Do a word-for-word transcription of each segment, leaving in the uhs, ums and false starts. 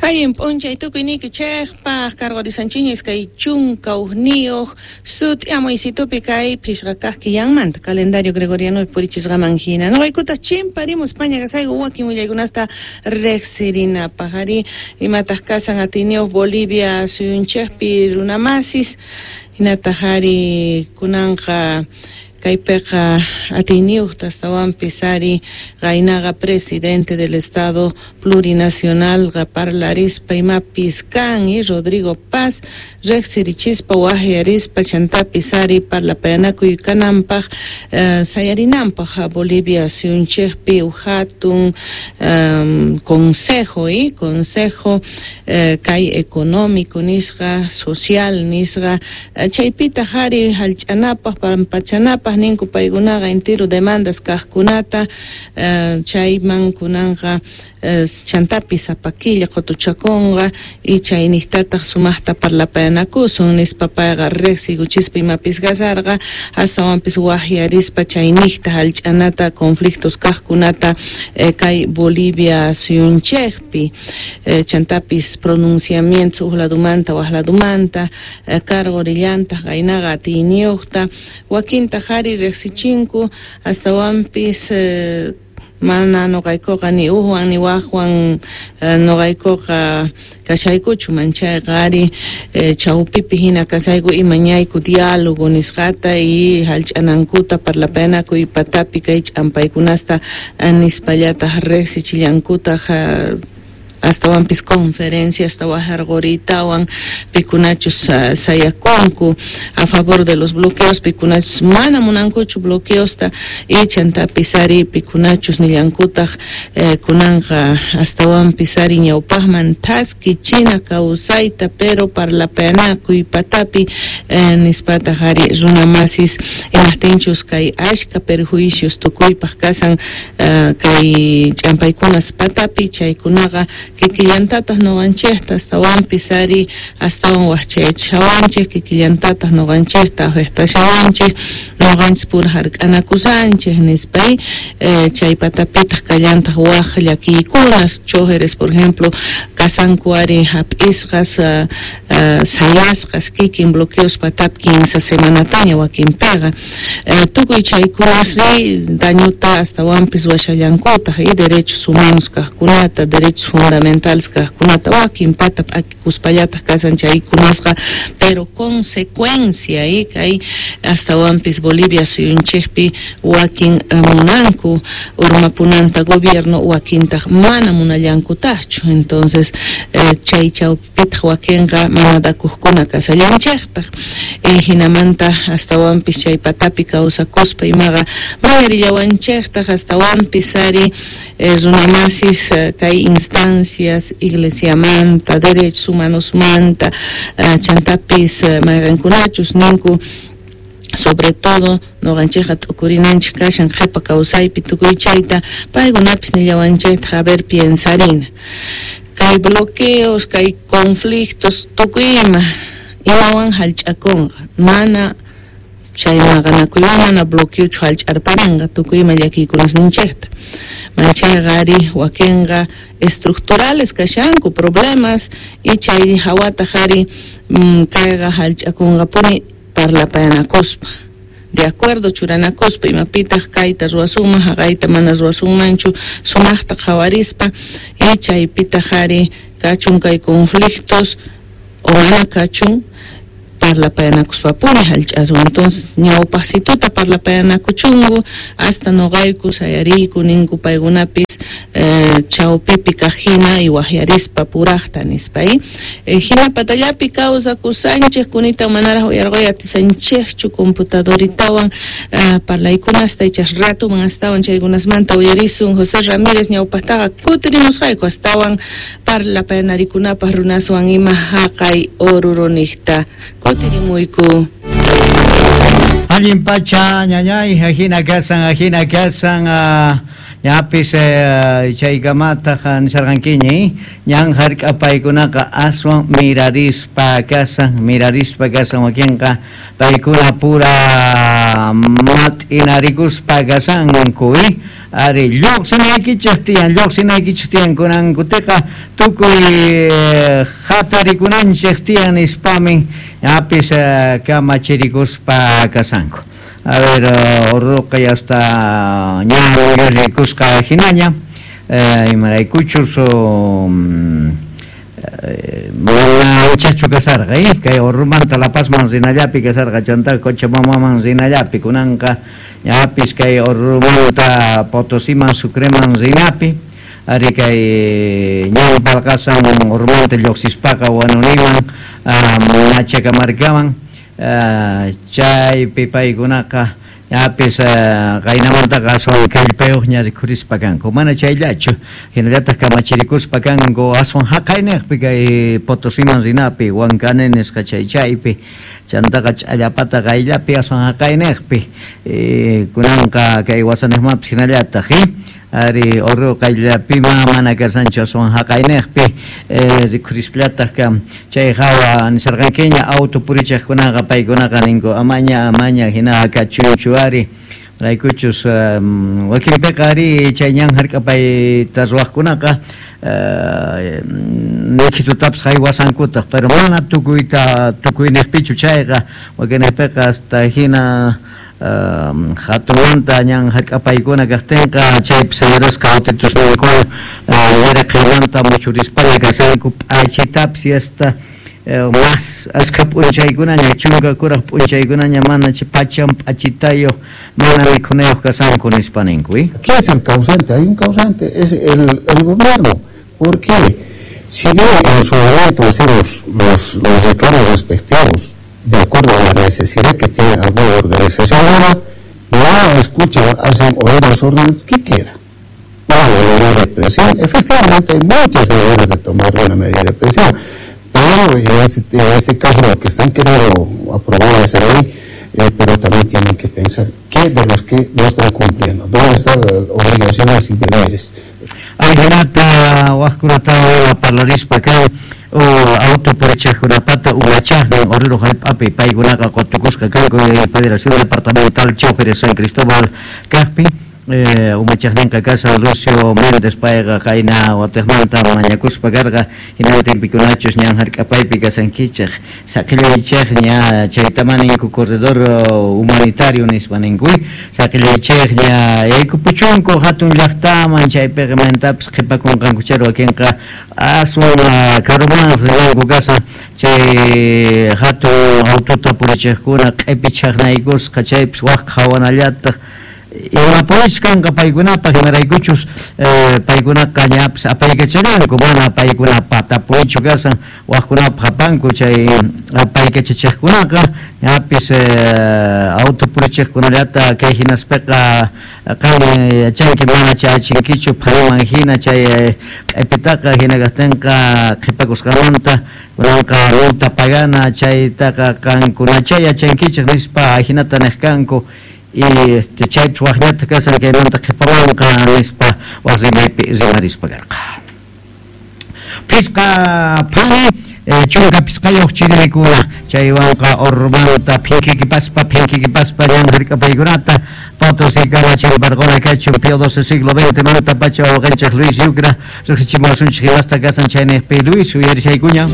Allin p'unchay tukuyniykichejpaj karqurisanchiña iskay chunka ujniyuq sut'iamuysitupi kay phishqa kaq killanmanta calendario gregoriano purichisqaman hina. Noqaykutaq chimparimus paña kasayku wakin willaykunasta riqsirinapaq ari imataq kasan atiyniyuq Bolivia suyunchikpi runamasis hinataq ari kunanqa kaypiqa atiyniyuqta astawanpis ari qaynaqa presidente del Estado Plurinacional parlarispa imapis kan y Rodrigo Paz riqsirichispa waqyarispa chantapis ari parlapayanakuy kananpaq eh, sayarinanpaq Bolivia suyunchikpi hatun um, consejo y consejo eh, kay económico nisqa social nisqa chaypitaq ari hallch'anapaq pampachanapaq ninku paykunaqa entero demandas kaqkunata uh, chayman kunanqa uh, chantapis sapa killa qutuchakunqa y chayniqtataq sumaqta parlapayanakusun nispa payqa riqsiykuchispa imapis kasarqa astawanpis waqyarispa chayniqta hallch'anata conflictos kaqkunata eh, kay Bolivia suyunchikpi eh, chantapis pronunciamientos uj ladumanta waj ladumanta eh, karqurillantaq qaynaqa atiyniyuqta wakintaq ari riqsichinku astawanpis eh, mana noqaykuqa ni ujwan ni wajwan eh, noqaykuqa kashaykuchu manchayqa ari eh, chawpipi hina kasayku imañayku diálogo nisqata y hallch'anankuta parlapayanakuy patapi kay ch'ampaykunasta eh, nispallataq riqsichillankutaq eh, astawanpis conferencias wajarquritawan pikunachus uh, sayakunku a favor de los bloqueos pikunachus mana munankuchu bloqueosta y chantapis ari pikunachus nillankutaq eh, kunanqa astawanpis ari ñawpaqman thaskichina kawsayta pero parlapayanakuy patapi eh, nispataq ari runamasis imaqtinchus kay ashka perjuicios tukuypaq kasan uh, kay ch'ampaykunas patapi chaykunaqa kikillantataq noqanchikta astawanpis ari astawan waqchayachishawanchik kikillantataq noqanchikta afectashawanchik noqanchis pura hark'anakusanchik nispa eh, chay patapitaq kallantaq waq llakiykunas chojeres por ejemplo kasanku ari hap'isqas uh, uh, sayasqas kikin bloqueos patapi kinsa semanataña wakinpiqa eh, tukuy chaykunasri dañuta astawanpis ruwashallankutaq y derechos humanos kaqkunata derechos fundamentales kaqkunata wakin pata p'akikuspallataq kasan chaykunasqa pero consecuencia y kay astawanpis Bolivia suyunchikpi wakin munanku urmapunanta gobierno wakintaq mana munallankutaqchu entonces eh, chay chawpitaq wakinqa mana dakuqkuna kasallanchiktaq eh, hinamanta astawanpis chay patapi kawsakuspa imaqa mayarillawanchiktaq astawanpis ari eh, runamasis eh, kay instancias iglesiamanta derechos humanosmanta uh, chantapis uh, mayqankunachus ninku sobre todo noqanchikqa t'ukurinanchik kashan qhipa kawsaypi tukuy chayta paykunapis nillawanchiktaq a ver piensarina kay bloqueos kay conflictos tukuy ima imawan hallch'akunqa mana chay maqanakuywan mana bloqueochu hallch'arparinqa tukuy ima llakiykunasninchikta manchayqa ari wakinqa estructurales kashanku problemas y chay hawataq ari mm, kayqa hallch'akunqapuni parlapayanakuspa de acuerdo churanakuspa imapitaq kayta ruwasunman haqayta mana ruwasunmanchu sumaqta qhawarispa y chaypitaq ari kachun kay conflictos o mana kachun parlapayanakuspapuni hallch'aswan entonces ñawpaqsituta parlapayanakuchunku hasta noqayku sayariyku ninku paykunapis eh, chawpipi kaq hina y waqyarispa puraqta nispa y eh, hina patallapi kawsakusanchik kunita manaraq uyarquy atisanchikchu computadoritawan uh, parlaykunasta ichas ratuman astawan chaykunasmanta uyarisun José Ramírez ñawpaqtaqa kutirimusqayku astawan parlapayanarikunapaq runaswan ima haqay oruroniqta kutirimuyku. Allin pacha ñañay ajina kasan ajina kasan uh, ñapis eh, chaykamataq nisarqankiñi ñan hark'apaykunaqa aswan mirarispa kasan mirarispa kasan wakinqa paykuna pura mat'inarikuspa kasanku ari lluqsinaykichik tiyan lluqsinaykichik tiyan kunankutiqa tukuy hatarikunanchik tiyan nispamin ñapis kamachirikuspa kasanku. A ver, orruqa ya está ña rikusqa hinaña imaraykuchus mana anchachu kasarqa kay Orrumanta La Pazman rinallapi kasarqa chanta Cochabambaman rinallapi kunanqa ñapis kay Orrumanta Potosiman Sucreman rinapi ari kay ñan palqasan Orrumanta lluqsispaqa Huanuniman Machacamarcaman chaypi paykunaqa ñapis qaynamantaqa aswan kallpayuqña rikhurispa kanku mana chayllachu hinallataq kamachirikuspa kanku aswan haqayniqpi kay Potosiman rinapi Huancane nisqa chay chaypi chantaqa ch'allapata qayllapi aswan haqayniqpi kunanqa kay wasaniqmanpis hinallataq ari Oruro qayllapima mana kasanchu aswan haqayniqpi rikhurispallataq chay hawa nisarqankiña auto purichaqkunaqa paykunaqa ninku amaña amaña hina kachunchu ari raykuchus wakinpiqa ari chay ñan hark'apayta ruwaqkunaqa nikhitutapis haywasankutaq pero mana tukuyta tukuyniqpichu chayqa wakinniqpiqa hasta hina hatunmanta ñan hark'apaykuna kaqtinqa chaypi señorasqa autitusninkuna yaraqaymanta muchurispalla kasanku p'achitapis hasta mas askha p'unchaykunaña chunka kuraq p'unchaykunaña mana pachan p'achitayuq mana mikhunayuq kasanku nispa ninku. ¿Qué es el causante? Hay un causante, es el, el gobierno. ¿Por qué? Si bien en su momento hacemos los, los reclamos respectivos de acuerdo a la necesidad que tiene alguna organización, no escuchan, hacen oídos órdenes, ¿qué queda? Una medida de presión. Efectivamente hay muchas maneras de tomar una medida de presión, pero en este, en este caso lo que están queriendo aprobar esa ley, eh, pero también tienen que pensar qué de los que no están cumpliendo, dónde están las obligaciones y deberes. Ajinata wajkunata parlarispa kan auto purichaqkunapata umachaqnin Oruro hallp'api paykunaqa qutukusqa kanku Federación Departamental Choferes San Cristóbal kaqpi umachaqninqa kasan Lucio Méndez payqa qayna watiqmanta mañakuspa karqa hinantinpikunachus ñan hark'apaypi kasankichaq saqillaychaq ña chaytama ninku corredor humanitario nispa ninku saqillaychaq ña yaykupuchunku hatun llaqtaman chaypiqa mantapis qhipakunqankuchari wakinqa aswan karuman rinanku kasan chay hatun autota purichiqkuna q'ipi chaqnaykusqa chaypis waq qhawanallataq imapunich kanqa paykunapaq imaraykuchus paykunaqa ñapis apaykachananku mana paykuna patapunichu kasan waqkunapaq apanku chay apaykachachiqkunaqa ñapis auto purichiqkunallata kay hinaspiqa qan yachanki mana chayachinkichu phariman hina chay q'ipitaqa hina kaqtinqa qhipakusqamanta kunanqa multa pagana chaytaqa qankunacha yachankichik nispa hinata niq kanku y este chaypis waqñata kasan kaymanta qhipamanqa nispa waq rimaypi rimarispa karqa. Phisqa phani chunka phisqayuq chiriykuna chaywanqa Orrumanta phinkikipaspa phinkikipaspa ñan hark'apaykunata Potosí kamachimparquna kachun Pío doce siglo veinte manta pacha wawqinchik Luis Yucra riqsichimuwasunchik imasta kasan chayniqpi Luis uyarishaykuña.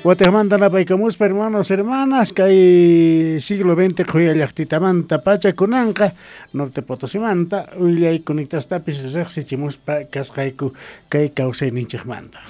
Guatemala napaykamuspa hermanos, hermanas, kay siglo veinte qhuyallaqtitamanta pacha kunanqa Norte Potosimanta willay kuniktastapis riqsichimuspa kasqayku kay kawsayninchikmanta.